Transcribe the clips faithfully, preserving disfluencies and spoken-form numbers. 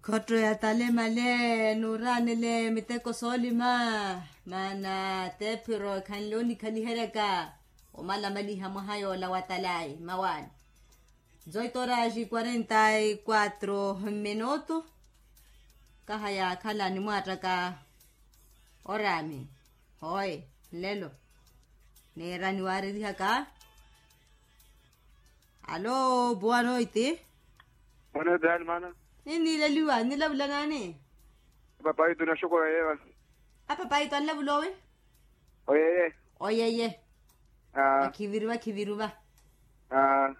Khotto ya talemale nuuranele miteko soolima. Maana tephiro ekhanle onikhaliheryaka omalamaliha mwaha yoola wa talayi mawaani. Zoitoraxi quarenta y quatro minuto. Kaha yaakhala nimwaattaka oraami. Hooye nlelo neera niwaaririhaka. Alo, boa noite. Boa noite, hermana. Ninniileliwa nilavula naani? Papaito naxoko yeeva. Apapaito anlavula owi? Oyeye. Oyeye. Vakhiviruva khiviruva.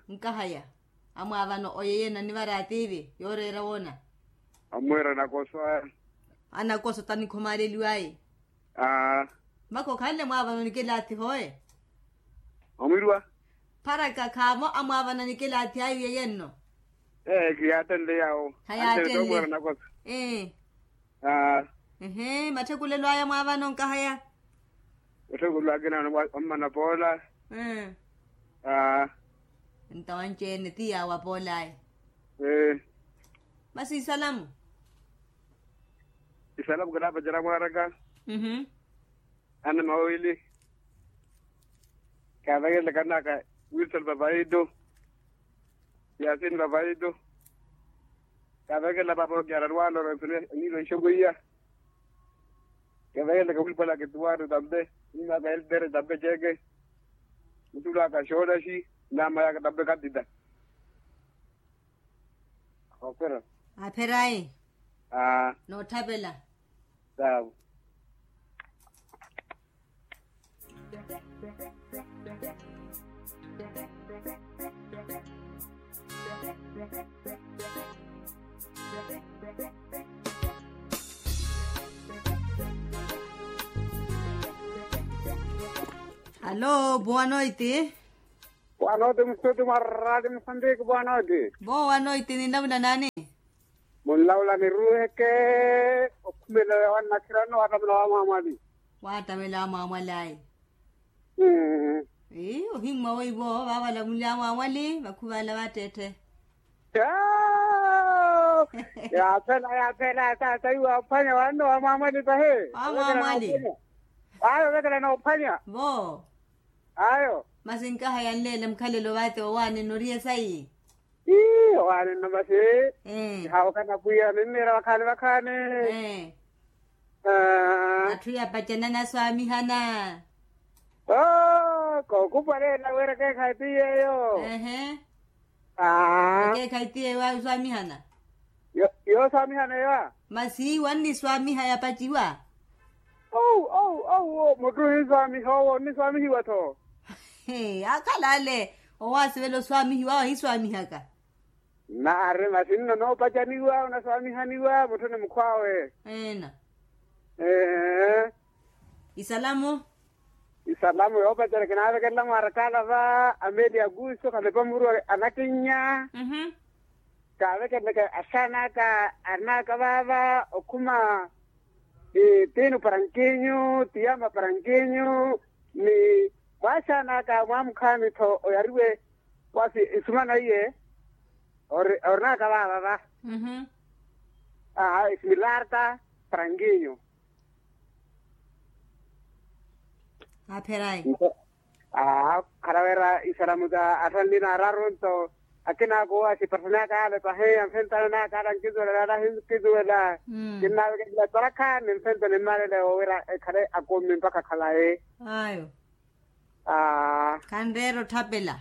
Nkahaya. Amwaavano oyeye nanivara atiivi yooreera woona. Amweera anakoso aya. Anakoso tanikhomaleliwayi. Aa. Mako khanle mwaavano nikilaathi hooye. Omwirwa. Pharaka khaamo amwaavano nikilaathi ayo yeyenno. Ee kiyaatenle yaawo. Hayaatenle. Ee. Aa. Ehe matthekulelo aya mwaavano nkahaya. Matthekulelo akina wammana poola. Ee. Aa. Ntawanci-ene ti yaawo apool'aya. Ee. Masi isalamu. Isalamu kinaapacela mwaaraka. Ana mawili. Kaavekelele kanaka wilson papaitu. Yasini papaitu. Kaavekelele papa okiara lwaloro nsoni aniilo nxokoiya. Kaavekelele kawilipwala kituwari tampe. Nimaka eltere tampe ceke. Mutulaka xoolaxi. Namayaka tampe katita. Apherayi. Nootthapela. Sawa. Alo boa noite. Boa noite musuti mwarali musambiki boa noite. Boa noite ninlavula naani? Munlavula niruuheke. Okhumela wannakirano waattamela wamwamwali. Waattamela wamwamwali ayi. Ii ohimmwa weiwo vaavalamuli amwamwali vakhuvala vaattetthe. Yaaphela yaaphela taata iwe aphwanya wanno wamwamwali pahi. Wamwamwali. Ayo vekela noophwanya. Vo. Ayo. Masi nkaha yanleele mukhalelo vathi owaani noriye sayi. Ii owaani nno masi. Nihaawukana pwiya ninniira vakhaani vakhaani. Atthu yapacana naswaamihana. Oo kookupwalela wira keekhayi ti yeeyo. Ekeekhayi ti yeeyo ayo oswaamihana. Yooswaamihana eyo a. Masi wanniswaamiha yapaciwa. Ou ou ou mutthu ohinswaamiha owo onniswaamihiwa-tho. Akhala ale owaasivela oswaamihiwa awo ahiswaamihaka. Nnaari masi nno noopacaniwa onaswaamihaniwa mutthu ni mukhw'awe. Eena. Ee. Isalamu. Isalamu yoopacana kinaavekelela mwaarakaala va amelia kuuso khalepa muru anakinnya. Kaavekeleleke axaan'aka arinaaka vaava okhuma. Tiinu parankinyu tiyama parankinyu ni mwaaxaan'aka mwaamukhaani-tho oyariwe. Wasi isumana iye orinaaka vaava va. Aha isimilarta parankinyu. Aapherayi. Aa kharaweera isalamu sa atthu anli naararu nto. Akinaaka owo asiparthanaka ale pahi anfentane naaka ale ankizuwelela ale ahinkizuwela. Kinnaavekelela tarakha ni nfentane mmalele wowira ekhale akumi mpakha khalayi. Ayo. Aa. Khanreera otthapela.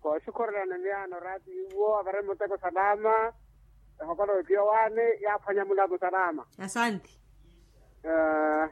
Kooxukhurela ni miyaano oraati iwo avare muteko salama. Ehokolo ephiya owaani yaaphwanya mulamu salama. Asanti. Aa.